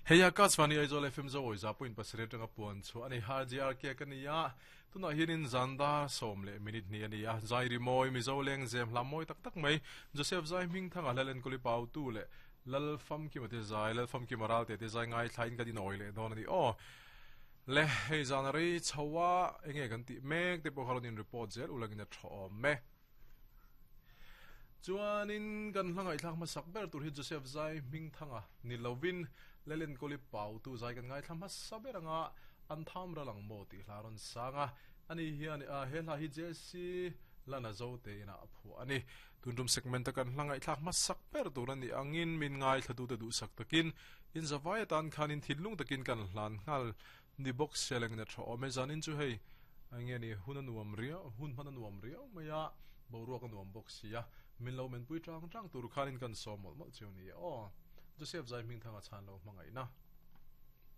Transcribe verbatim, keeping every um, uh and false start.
Hei Akashvani Aizawl F M Zo za point pasarih atanga puan chu ani R G R K ka nia tunah hianin zanda sawm leh minute ni ani a zai ri mawi Mizo leng zem hla mawi tak tak mai Joseph Zai hming thanga lalen kuli pau tu le lal fam ki mate zai lal fam ki maral te te zai ngai thlain ka din oi le don ani o le hei zanari chawa enge kan ti mek te pawh khalonin report zel ulangin a thaw me chuanin kan hlangai thlak ma sak ber tur hi Joseph Zai hming thanga ni lovin lelen koli pau tu zai kan ngai thlam saber anga an tham ralang mo ti hlaron sanga ani hian a he hla hi Jesse lana zo te ina phu ani tuntum segment kan hlangai thlak ma sak ber tur ani angin min ngai thlatu te du sak takin in zawai tan khanin thilung takin kan hlan ngal ni box seleng na tho me zanin chu hei ange ni hun anuam ria hun man anuam ria maya boruak anuam box sia min lo men pui tang tang tur khanin kan som mol mol chu ni o Joseph Zai ming thanga chan lo mangai na.